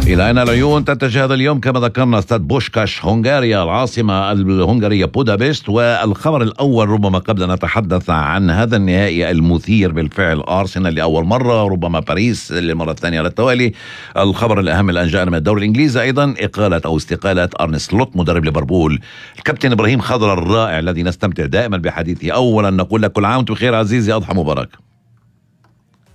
إلى أين العيون تتجه هذا اليوم؟ كما ذكرنا استاد بوشكاش هنغاريا، العاصمة الهنغارية بودابست. والخبر الأول ربما قبل أن نتحدث عن هذا النهائي المثير بالفعل، أرسنال لأول مرة، ربما باريس للمرة الثانية على التوالي. الخبر الأهم الآن جاءنا من الدوري الإنجليزي أيضا، إقالة أو استقالة أرن سلوت مدرب ليفربول. الكابتن إبراهيم خضر الرائع الذي نستمتع دائما بحديثه، أولا نقول لك كل عام وانتم بخير عزيزي، أضحى مبارك.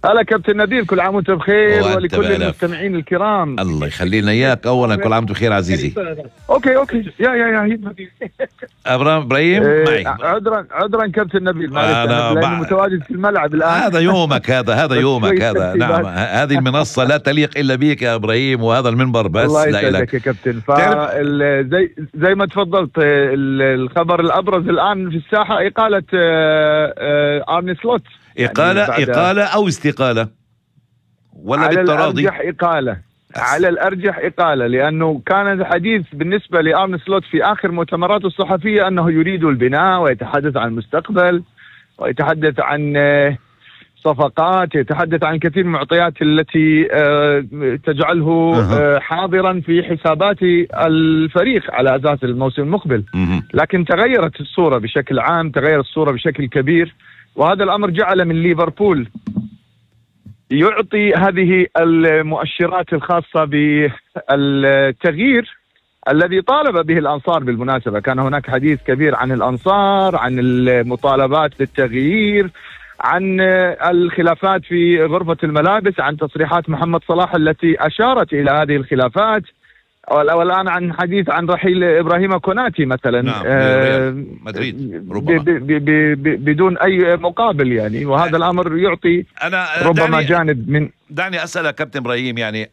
هلا كابتن نبيل، كل عام وانت بخير ولكل المستمعين الكرام. الله يخلينا اياك. اولا كل عام وانت بخير عزيزي. اوكي يا ابراهيم معي. عذرا كابتن نبيل، معلش متواجد في الملعب الان. هذا يومك، هذا يومك هذا. نعم، هذه المنصة لا تليق الا بك يا ابراهيم، وهذا المنبر بس الله لا لك يا كابتن. زي ما تفضلت، الخبر الابرز الان في الساحة إقالة أرن سلوت. إقالة أو استقالة ولا بالتراضي؟ على الأرجح إقالة، لأنه كان الحديث بالنسبة لأرن سلوت في آخر مؤتمراته الصحفية أنه يريد البناء ويتحدث عن المستقبل ويتحدث عن صفقات، يتحدث عن كثير من المعطيات التي تجعله حاضرا في حسابات الفريق على أساس الموسم المقبل. لكن تغيرت الصورة بشكل عام، تغيرت الصورة بشكل كبير، وهذا الأمر جعل من ليفربول يعطي هذه المؤشرات الخاصة بالتغيير الذي طالب به الأنصار. بالمناسبة كان هناك حديث كبير عن الأنصار، عن المطالبات بالتغيير، عن الخلافات في غرفة الملابس، عن تصريحات محمد صلاح التي أشارت إلى هذه الخلافات، والآن عن حديث عن رحيل إبراهيم كوناتي مثلا. نعم، مدريد بدون أي مقابل يعني. وهذا الأمر يعطي ربما جانب من. دعني أسأل كابتن إبراهيم، يعني